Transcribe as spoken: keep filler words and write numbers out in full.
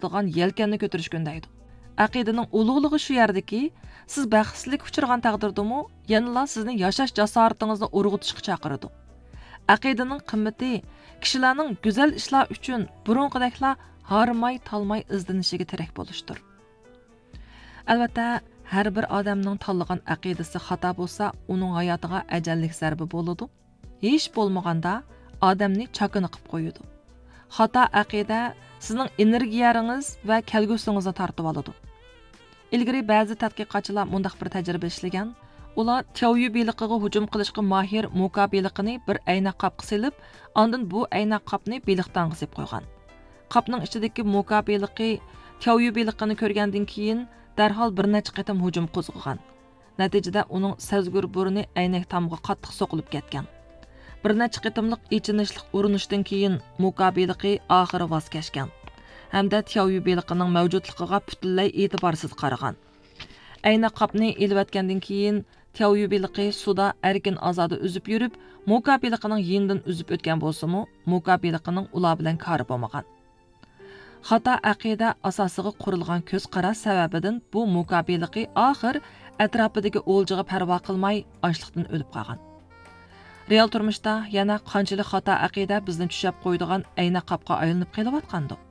بولىدىغان يەلكەننى كۆتۈرۈشكە ئۈندەيدۇ. ئەقىدىنىڭ ئۇلۇغلۇقى شۇ يەردىكى، سىز بەختسىزلىككە ئۇچرىغان تەقدىردىمۇ، يەنىلا سىزنى ياشاش جاسارىتىڭىزنى ئۇرغۇتۇشقا چاقىرىدۇ. ئەقىدىنىڭ قىممىتى كىشىلەرنىڭ گۈزەل ئىشلار ئۈچۈن بۇرۇنقىدەكلا ھارماي-تالماي ئىزدىنىشىگە تىرەك بولۇشتۇر. ئەلۋەتتە، ھەر بىر ئادەمنىڭ تاللىغان ئەقىدىسى خاتا بولسا، ئۇنىڭ ھاياتىغا ئەجەللىك زەربە بولىدۇ. ھېچ بولمىغاندا ئادەمنى چاكىنا قىپ قويىدۇ. خاتا ئەقىدە سىزنىڭ ئېنېرگىيەڭىز ۋە كەلگۈسىڭىزنى تارتىۋالىدۇ. ئىلگىرى بەزى تەتقىقاتچىلار مۇنداق بىر تەجرىبە ئىشلىگەن. ئۇلار تياۋيۈ بېلىقىغا ھۇجۇم قىلىشقا ماھىر موكا بېلىقىنى بىر ئەينەك قاپقا سېلىپ، ئاندىن بۇ ئەينەك قاپنى بېلىق تاڭغا سېلىپ قويغان. قاپنىڭ ئىچىدىكى موكا بېلىقى تياۋيۈ بېلىقىنى كۆرگەندىن كېيىن، دەرھال بىر نەچچە قېتىم ھۇجۇم قوزغىغان. نەتىجىدە ئۇنىڭ سەزگۈر بۇرنى ئەينەك تامغا قاتتىق سوقۇلۇپ كەتكەن. بىر نەچچە قېتىملىق ئېچىنىشلىق ئۇرۇنۇشتىن كېيىن، موكا بېلىقى ئاخىرى ۋاز كەچكەن ھەمدە تياۋيۈ بېلىقىنىڭ مەۋجۇتلۇقىغا پۈتۈنلەي ئېتىبارسىز قارىغان. ئەينەك قاپنى ئېلىۋەتكەندىن كېيىن، تياۋيۈ بېلىقى سۇدا ئەركىن-ئازادە ئۈزۈپ يۈرۈپ، موكا بېلىقىنىڭ يېنىدىن ئۈزۈپ ئۆتكەن بولسىمۇ، موكا بېلىقىنىڭ ئۇلار بىلەن كارى بولمىغان. خاتا ئەقىدە ئاساسىغا قۇرۇلغان كۆز قاراش سەۋەبىدىن بۇ موكا بېلىقى ئاخىر ئەتراپىدىكى ئولجىغا پەرۋا قىلماي، ئاچلىقتىن ئۆلۈپ قالغان. رېئال تۇرمۇشتا يەنە قانچىلىك خاتا ئەقىدە بىزنى چۈشەپ قويىدىغان ئەينەك قاپقا ئايلىنىپ قېلىۋاتقاندۇق؟